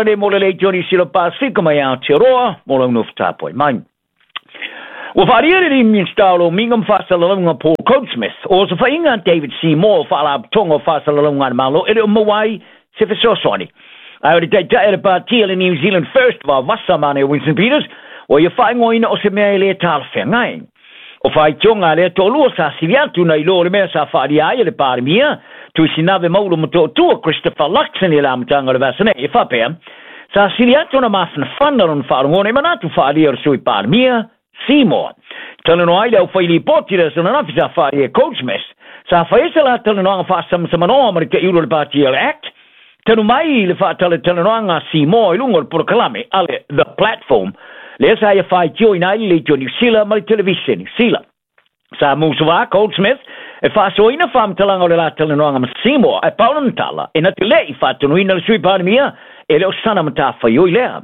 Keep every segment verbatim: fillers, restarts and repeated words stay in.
tala nei mo le Leitio Niu Sila Pasifika mai Aotearoa mo lau nofo tapuai mai. Ua faalia le alii Minisita o Lomiga ma Faasalalauga Paul Goldsmith o osofaiga a David Seymour o Faalapotopotoga o Faasalalauga a le Malo e le o maua ai se fesoasoani. Ae o le taitai o le Pati a le New Zealand First vaovasa manaia Winston Peters ua ia faaigoaina o se mea e le talafeagai. O faitioga a lea toalua sa sili atu nai lo o le mea sa faaalia ai e le Palemia Tuisinave Maulu Motootua Christopher Luxon i le amataga o le vaiaso nei e faapea sa sili atu ona mafanafana lona faalogona i manatu faaalia o le Sui Palemia Seymour. Talanoa ai le aufailipoti le aso ananafi sa faaalia e Goldsmith sa fai ai se la talanoaga faasamasamanoa ma le taiulu o le Pati o le Act talu mai le faatalatalanoaga a Seymour i luga o le polokalame a le The Platform lea sa ia faitioina ai le Leitio Niu Sila ma le Televiseni Sila. Sa musuā Goldsmith e faasoaina faamatalaga o le la talanoaga ma Seymour ae pau lona tala e na te le'i faatonuina le Sui Palemia e le o sana matafaioi lea.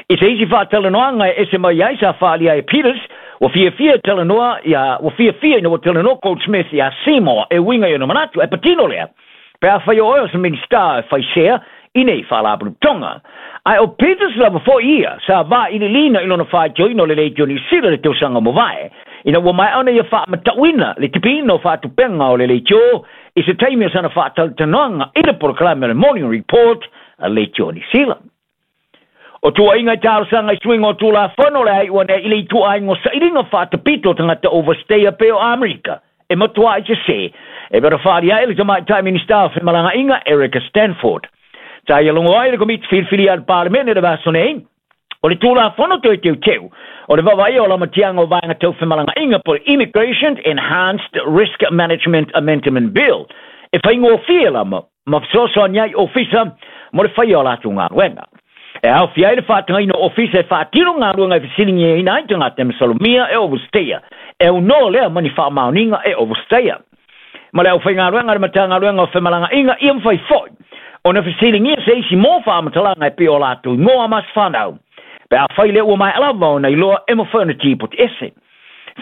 I se isi faatalanoaga e ese mai ai sa faaalia ai e Peters ua fiafia e talanoa ia ua fiafia ina ua talanoa Goldsmith iā Seymour e uiga i ona manatu ae patino lea pe afai o oe o se Minisita e faisea i nei faalapotopotoga. Ae o Peters lava fo'i ia sa vailiiliina i lona faitioina o le Leitio Niu Sila i le tausaga mavae ina ua maea ona ia faamatauina le tipiina o faatupega o le leitio i se taimi o sana faatalatalanoaga i le polokalame o le Morning Report a Leitio Niu Sila. O tuuaiga i talosaga i suiga o Tulafono o le a iu ane ai i le ituaiga o sailiga faatapito o tagata overstayer pei o Amerika e matuai sesē e pei ona faaalia ai le Tamaitai Minisita o Femalagaaiga Erica Stanford. Sa ia logo ai le Komiti Filifili a le Palemene i le vaiaso nei o le Tulafono Toe Teuteu o le Vaavaaia o Lamatiaga o Vaega Tau Femalagaaiga po o le Immigration Enhanced Risk Management Amendment Bill e faigofie lava ma fesoasoani ai ofisa mo le faia o latou galuega. E aofia ai le faatagaina o ofisa e faatino galuega e fesiligiaina ai tagata e masalomia e overstayer e aunoa lea ma ni faamaoniga e overstayer. Ma le aufaigaluega a le Matagaluega o Femalagaaiga ia mafai foi ona fesiligia se isi mo faamatalaga e pei o latou igoa ma se fanau. Pe afai lea ua maea lava ona iloa e mafai ona tipoti ese.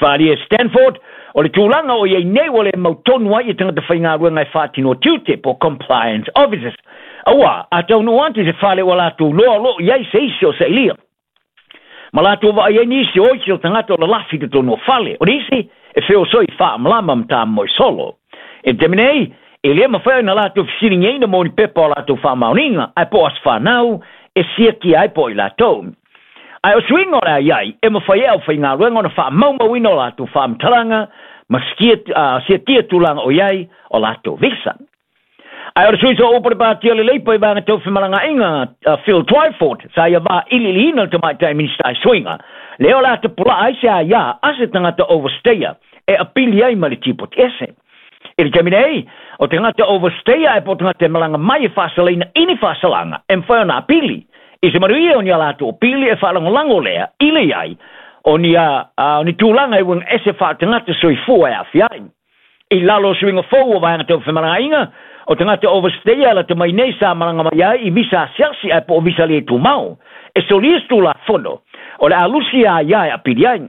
Faaalia e Stanford o le tulaga o i ai nei ua le mautonu ai i tagata faigaluega e faatinoa tiute po o compliance officers. Auā, a taunuu atu i se fale ua latou iloa o lo o i ai se isi o sailia. Ma latou vaai ai nisi o isi o tagata o lalafi i totonu o fale. O nisi e feosoi faamalama ma tamoe solo. I le taimi nei, e le mafai ona latou fesiligiaina mo ni pepa o latou faamaoniga, ae po o aso fanau e siakia ai po o i latou. Ae o suiga o le a i ai, e mafai e aufaigaluega ona faamaumauina o latou faamatalaga ma siakia tulaga o i ai o latou visa. Ae o le sui sooupu o le Pati o le Leipa i Vaega Tau Femalagaaiga, Phil Twyford, sa ia vailiiliina le Tamaitai Minisita i suiga lea o le a tapulaa ai se aia a se tagata overstayer e apili ai ma le tipoti ese. I le taimi nei, o tagata overstayer ae po o tagata e malaga mai e faasalaina i ni faasalaga e mafai ona apili. I se manuia o ni a latou apili e faalagolago lea i le i ai o ni, a, o ni tulaga e uiga ese faatagata soifua e aafia ai. I lalo o suiga fou o Vaega Tau Femalagaaiga, o tagata overstayer e lata mai nei sa malaga mai ai i visa asiasi ae po o visa le tumau. E solia se Tulafono o le a lusi a ia e apili ai.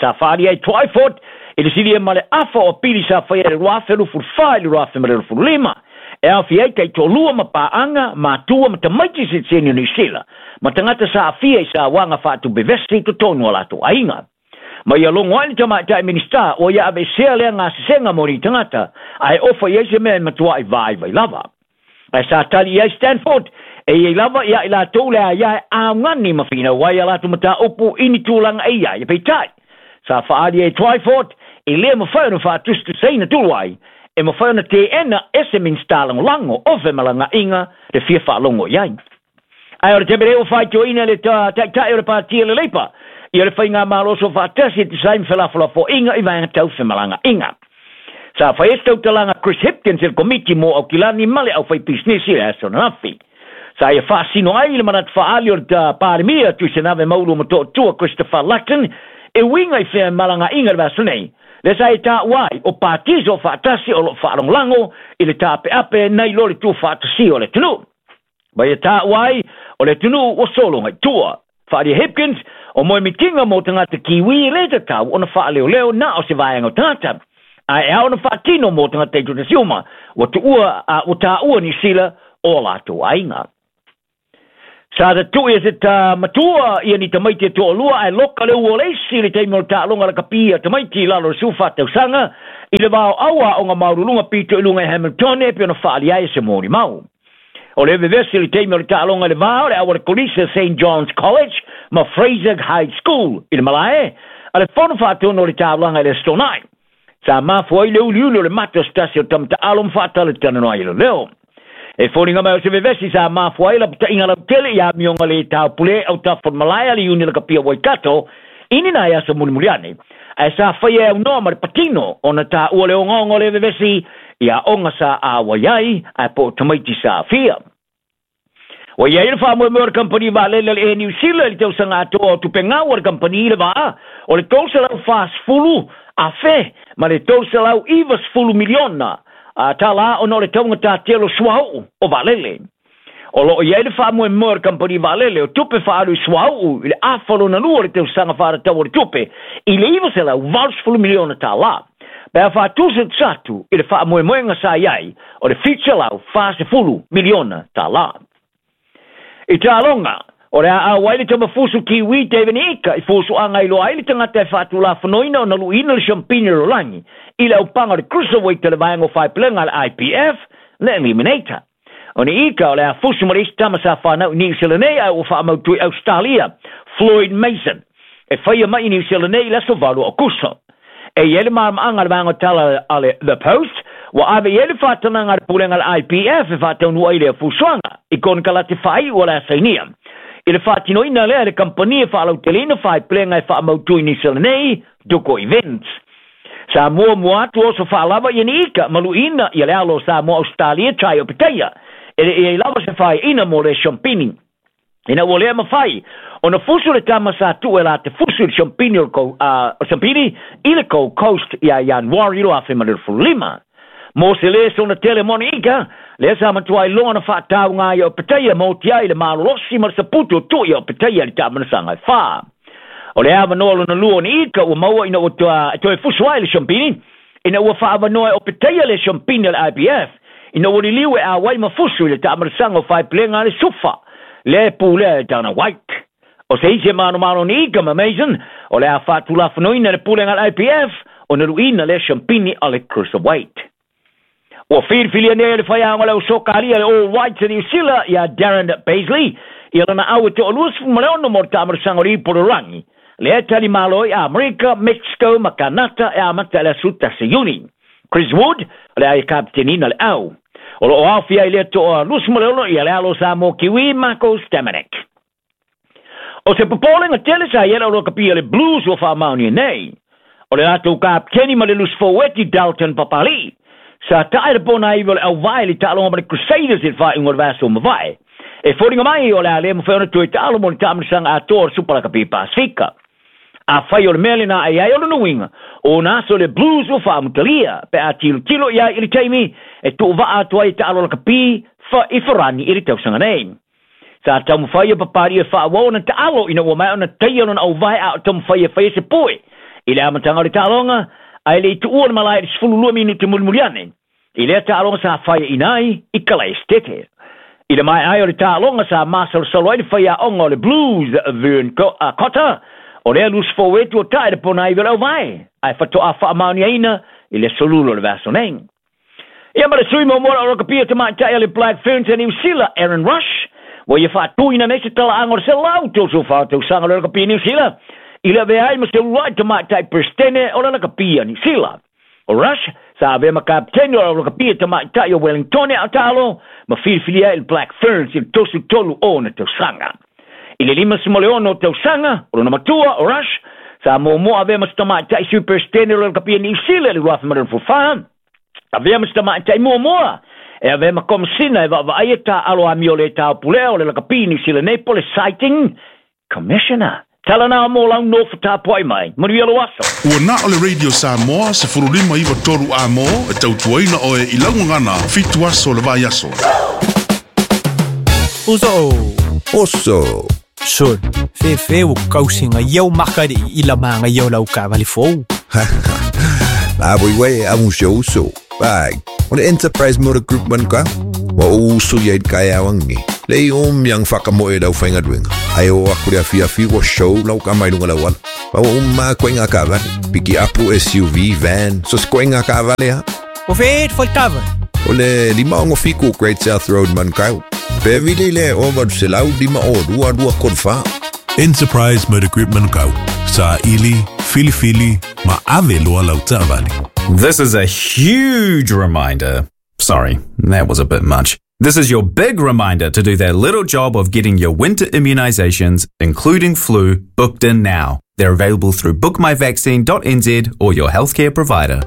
Sa faaalia ai Twyford i le silia ma le afa o apili sa faia i le rua afe luafulu fa i le rua afe ma le luafulu lima. E aofia ai taitoalua ma paaga, matua ma tamaiti sitiseni o Niu Sila, ma tagata sa aafia i sauaga faatupevesi i totonu o latou aiga. Ma ia logo ai le Tamaitai Minisita ua ia aveesea lea gasesega mo ni tagata, ae ofa i ai se mea e matuai vaivai lava. Ae sa tali i ai Stanford, e i ai lava ia i latou le aia e augani ma finau ai a latou mataupu i ni tulaga e i ai, peitai, sa faaali e Twyford, e le mafai ona faatusatusaina tulu ai, e mafai ona teena e se Minisita Lagolago o Femalagaaiga le fia faalogo i ai. Ae o le taimi nei ua faitioina le Taitai o le Pati o le Leipa ia le Faigamalo Soofaatasi e tusa ai ma felafolafoaiga i vaega tau femalagaaiga. Sa fai ai se tautalaga Chris Hipkins i le Komiti mo Aukilani ma le Aufaipisinisi i le aso ananafi. Sa ia faasino ai le manatu faaali o le Palemia Tuisanave Maulu Motootua Christopher Luxon e uiga i femalagaaiga i le vaiaso nei. Lea sa e taua ai o Pati Soofaatasi o lo o faalagolago i le taapeape nai lo le tuufaatasia o le atunuu. Ma ia taua ai o le atunuu ua sologa i tua. Faalia Hipkins, o moemitiga mo tagata Kiwi e le tatau ona faaleoleo na o se vaega o tagata. Ae ao ona faatino mo tagata i totasi uma, ua tuua, a, ua taua Niu Sila o latou aiga. Sa tatu'i e se ta matua ia ni tamaiti e to'alua ae loka le ua o le isi i le taimi o le taaloga lakapi a tamaiti i lalo o le sefulufa tausaga i le vaoau aoga maululuga pito i luga i Hamilton e pei ona faaali ai e se molimau. O le vevesi i le taimi o le taaloga i le va o le au a le kolisi Saint John's College ma Fraser High School i le malae a le fono faatonu o le taulaga i le Aso Toonai. Sa mafua ai le uliuli o le mata o se tasi o tama taalo ma faatalatalanoa ai e leoleo. E foliga mai o se vevesi sa mafua ai lapata'iga lautele i amioga lē taupulē autafa o le malae a le iuni lakapia Waikato i ni nai aso mulimuli ane. Ae sa faia e aunoa ma le patino ona tāua le ogaoga o le vevesi i aoga sa auai ai ae po o tamaiti sa aafia. Ua i ai le faamoemoe o le kamupani vaalele a le Air New Zealand i le tausaga atoa o tupe gau a le kamupani i le vaa o le tolu selau fasefulu afe ma le tolu selau ivasefulu miliona tālā ona o le taugatā tele o suauu o vaalele. O loo i ai le faamoemoe o le kamupani vaalele o tupe faaalu i suauu i le afa lona lua o le tausaga faatatau o le tupe i le iva selau valusefulu miliona tālā. Pe a faatusa atu i le faamoemoega sa i ai o le fitu selau fasefulu miliona tālā. I taaloga, o le a auai le tamafusu Kiwi David Ika i fusuaga i loa ai le tagata e faatulafonoina ona luʻiina le siampini o lalolagi i le aupaga o le Cruiserweight o le vaega o faepelega a le I B F le Eliminator. O ni Ika o le a fusu ma le isi tama sa fanau i Niu Sila nei ae ua faamautu i Australia, Floyd Mason, e faia mai i Niu Sila nei i le aso valu o Akuso. E i ai le malamaaga a le vaega o tala a le The Post, ua ave i ai le faatanaga a le pulega a le I B F e faataunuu ai lea fusuaga i konekarate faaiu o le a sainia. I le faatinoina lea e le kampani e faalauteleina faepelega e faamautu i Niu Sila nei, Duko Events. Sa muamua atu oso faalava ia ni Ika ma luʻiina ia le alo o Samoa Australia Tai Opetaia. E le i ai lava se faeaina mo le siampini. Ina ua lea mafai ona fusu le tama sa tu'u e la te fusu i le siampini o le Gold, uh, siampini i le Gold Coast ia Ianuari lo afe ma le lima. Mo se lē sona tele moni Ika, lea sa matua iloga na faatauga ai o Opetaia ma oti ai le malolosi ma le saputu o tu'i o Opetaia i le taamanasaga e fā. O le avanoa lona lua o ni Ika ua maua ina ua toe fusu ai le siampini, ina ua faaavanoa e Opetaia le siampini a le I B F, ina ua liliu e auai ma fusu i le taamanasaga o faepelega a le Sufa, lea e pulea e Dana White. O se isi e manomano ni Ika ma Mason, o le a faatulafonoina le pulega a le I B F, ona luʻiina lea siampini a le Cruiserweight. Ua filifilia nei le faiaoga o le ausokalia le All Whites a Niu Sila ia Darren Paisley ia lona au e toʻaluasefulu ma le ono mo le taamanasaga o le ipu o le lalolagi. Lea e talimalo ai Amerika, Mexico ma Kanata e amata i le aso tasi Iuni. Chris Wood o le a e kapitenina le au. O loo aofia ai lea toʻaluasefulu ma le ono ia le alo o Samoa Kiwi Marco Stamenic. O se popolega tele sa i ai le aulokapia le Blues ua faamaonia nei. O le latou kapiteni ma le lusi foueti Dalton Papali'i. Sa tae le pona iwi o le auvae i le taaloga ma le Crusaders i le faaiuga o le vaiaso mavae. E foliga mai o le a lē mafai ona toe taalo mo le taamanasaga atoa o le Supa Lakapi Pasifika. Afai o le mea lenā e ai o lona uiga, o ona aso le Blues ua faamutalia, pe a tilotilo i ai i le taimi e tuuvaa atu ai e taalo lakapi fa i Farani i le tausaga nei. Sa taumafai e Papali'i e faaauau ona taalo ina ua maea ona taia lona auvae a o taumafai e faia se poe i le amataga o le taaloga, ae le i tuua le malae i le sefululua minute mulimuli ane. I lea taaloga sa faeaina ai i Kalaesetete. I le maea ai o le taaloga sa masalosalo ai le faiaoga o le Blues Vern Cotter, o lea lusi fouetu o tae le pona iwi o le auvae, ae fatoʻa faamaoniaina i le aso lula o le vaiaso nei. Ia ma le sui muamua o le aulokapia tamaitai a le Black Ferns a Niu Sila, Aaron Rush, ua ia faatuina nei se talaaga o le selau tolusefulu fa tausaga o le aulokapia Niu Sila, i le avea ai ma se uluai tamaitai Peresetene o le aulokapia Niu Sila. O Rush sa avea ma kapiteni o le aulokapia tamaitai o Wellington a taalo ma filifilia ai le Black Ferns i le tosu tolu ona tausaga. I le lima sima le ono tausaga, o lona matua o Rush, sa muamua avea ma se tamaitai Sui Peresetene o le aulokapia Niu Sila i le rua afe ma le lua Avea ma se tamaitai muamua e avea ma komesina e vaavaai e taalo amio le taupulea o le lakapi Niu Sila nei po le Sighting Commissioner. Tala nā mō lau nofo tapuai mai. Manuia lou aso. Ua na o le Radio Samoa sefulu lima iwa tolu a mō e tautuaina oe i laugagana fitu aso le vaiaso. Uso. Oso. Sol. Fefe o kausinga iau makari i la manga iau lau kavali fou. La voi wei a musio uso. Bai. O le Enterprise Motor Group man ka. Wa uso ia i kai awangi. Le i o miang whaka mo e lau whainga duenga. Ai o aku le afi wa show lau ka mai lunga lau ala. Pa wa umma koe ngā kawale. Piki apu S U V, van, so se koe ngā kawale ha. O whet fo tava. O le lima ongo fiku Great South Road Manukau. Pe vili le o valu se lau lima o rua rua korfa. Enterprise Motor Group Manukau. Sa ili, fili fili, ma ave loa lau taavale. This is a huge reminder. Sorry, that was a bit much. This is your big reminder to do that little job of getting your winter immunizations, including flu, booked in now. They're available through book my vaccine dot n z or your healthcare provider.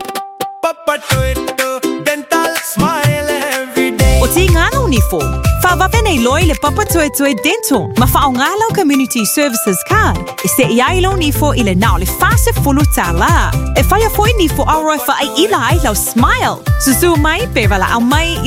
O ti ngā nifo. Whawawene loi le papatoetoe dental. Ma whaongalau Community Services Card. E se iai lo nifo i le nao le fase fulu tāla. E whaia foi nifo auroi wha ai ila ai lau smile. Susu mai pe wala au mai